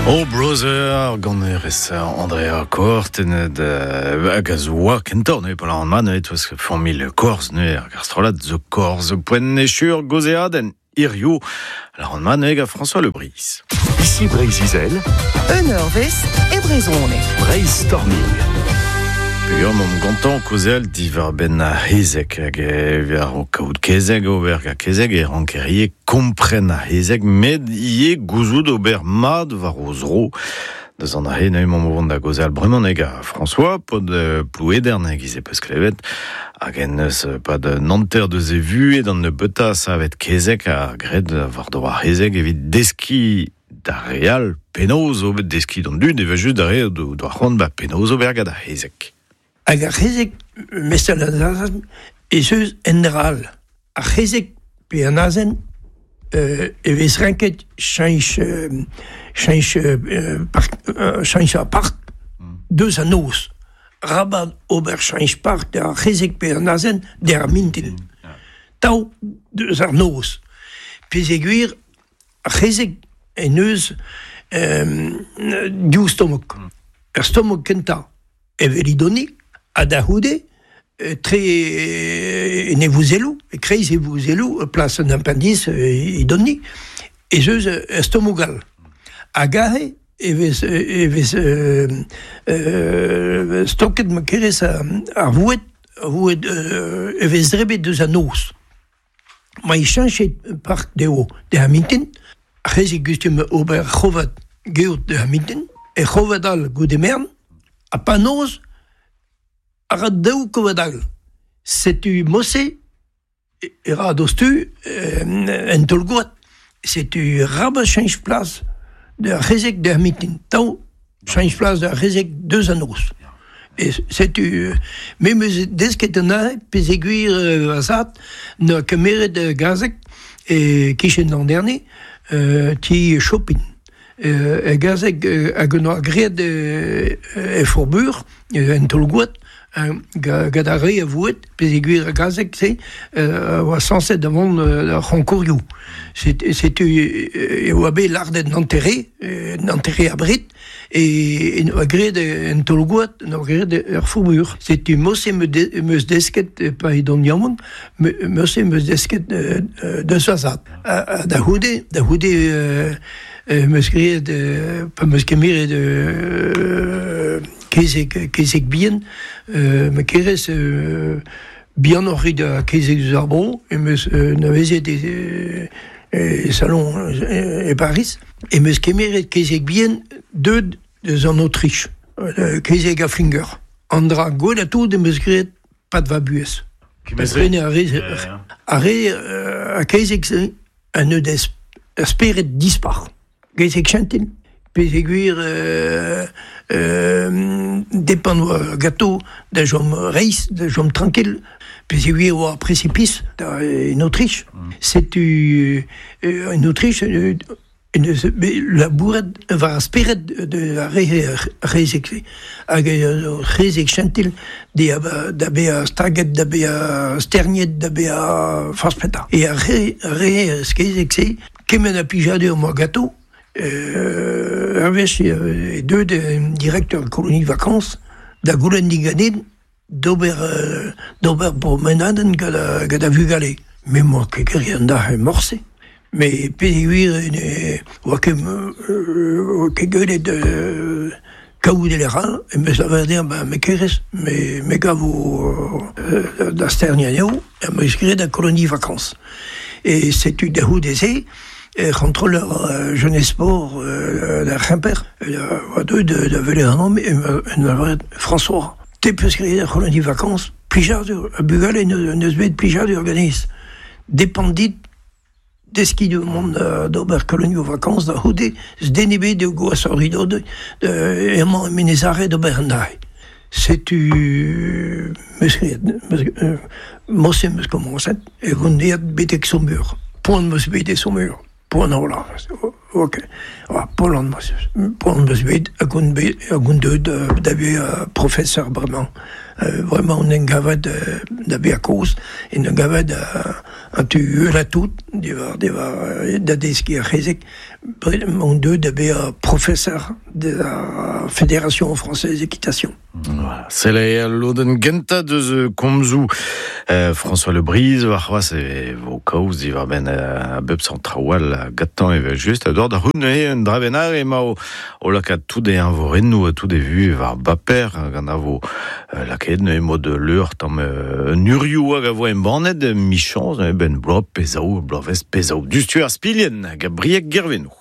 Oh Brother, ganerez Andrea Kortenet hag a zo oa kentoc'h neuze pa lâran mat neuze 'teus familh Korz neuze hag ar strollad The Korz poent echu'r gaozeadenn hiziv lâran mat neuze gant François Le Bris. Ici Breizh-Izel. Un eurvezh e brezhoneg. Breizh-Storming. Peogwir m'omp gantañ kaozeal diwar-benn ar c'hezeg hag evit ar kaout kezeg ober gant kezeg e ranker ivez kompren ar c'hezeg met ivez gouzout ober mat war o zro. Deus an aze neuze emaomp o vont da gaozeal bremañ ga François, paotr Plouedern e-giz e peus klevet, hag en deus pad un hanter deus e vuhez d'an nebeutañ savet kezeg ha graet war-dro ar c'hezeg evit deskiñ d'ar re all penaos ober deskiñ d'an dud evel-just d'ar re o doa c'hoant ba penaos ober gant ar c'hezeg. Hag ar c'hezeg, mestal an azen, ez eus un dra all. Ar c'hezeg pe an azen e vez renket cheñch cheñch park cheñch ar park deus an noz. Rabat ober cheñch park d'ar c'hezeg pe an azen d'ar mintin. Tav deus ar noz. Peogwir ar c'hezeg en deus div stomok. Ur stomok kentañ evel idoni ha da c'houde tre en e vouzelloù, e-kreiz e vouzelloù, plas an appendice idoni, ez eus ur stomok all. Hag aze e vez e vez stoket ma kerez ar voued, ar voued e vez drebet deus an noz. Ma e cheñchet park dezho d'ar mintin, ar c'hezeg gustum ober c'hovad geot d'ar mintin, er c'hovad all goude merenn, ha pa noz a ra daou kovad all. Setu mod-se e ra diouzhtu un taol-gwad. Setu arabat cheñch plas d'ar c'hezeg d'ar mintin. Tav cheñch plas d'ar c'hezeg deus an noz. E setu me 'm eus desket anezhe peogwir va zad 'noa kemeret gazeg e-kichen an Herne, ti Chopin. E gazeg hag 'noa graet e Faubourg, en taol-gwad, gant ar re a voued, peogwir ar gazeg-se a oa sañset da vont d'ar c'honkourioù. Setu e oa bet lardet an hanter-re, an hanter-re abred, e oa graet en taol-gwad, en oa graet er Faubourg. Setu mod-se 'm eus desket, pa edon yaouank, mod-se 'm eus desket deus va zad. Ha da c'houde, da c'houde 'm eus graet, pa 'm eus kemeret kezeg, kezeg bihan, ma kerez bihanoc'h eo da kezeg eus ar vro, em eus anavezet e, e salon e Pariz, em eus kemeret kezeg bihan deuet eus an Autriche, kezeg a Flinger. An dra gwellañ tout em eus graet pad va buhez. Prenañ a rez ar re a kezeg-se a neus ur spered dispar. Kezeg chentil peogwir depend oa ganto da chom reizh, da chom trankil, peogwir oa précipice en Autriche. Setu en Autriche en deus bet labouret war ar spered ar re c'hezeg-se. Hag ur c'hezeg chentil da bezañ staget, da bezañ sterniet, da bezañ forzh petra. E ar re kezeg-se Kement a plijadur 'moa ganto ur wech eo deuet un directeur colonie vacances da goulenn diganin d'ober d'ober promenadenn gant gant ar vugale. Me 'moa ket graet an dac'h morse. Met peogwir ne oa ket oa ket gwelet kaout e lec'h all em eus lavaret dezhañ ba me kerez me me gavo da sterniañ anezho em eus graet ar colonie vacances. E setu da c'houde-se e c'hontroller Jeunesse Sport da C'hemper oa deuet da welet ac'hanomp en lavaret François, te 'peus graet ar colonie vacances, plijadur, ar bugale n'eus bet plijadur ganez. Depend dit Deskiñ mont d'ober kolonioù vakañs da c'houde, den ebet eo gwashoc'h evidon emañ e Menez-Are d'ober an dra-se. Setu 'meus graet, morse 'meus komañset e on aet betek Saumur. Poan 'meus bet e Saumur. Poan a-walc'h. Ok. Poan poan 'm eus bet hag on bet hag on deuet da vezañ professeur bremañ. Bremañ on en gavet da vezañ kozh, en em gavet an tu uhelañ tout diwar diwar da deskiñ ar c'hezeg. Bremañ on deuet da vezañ professeur de la Fédération française d'équitation. Voilà. Sell al lodenn gentañ deus komzoù François Le Bris warc'hoazh e vo kaoz diwar-benn a bep seurt traoù all gantañ evel-just. A da c'hoût neuze un dra bennak emañ o lakaat tout e eñvorennoù ha tout e vuhez war baper gant a vo lakaet neuze mod leur tamm un urioù hag a vo embannet michañs neuze benn bloaz pe zaou bloavezh pe zaou. Diouzhtu ar spilhenn hag a Brieg Gervenoù.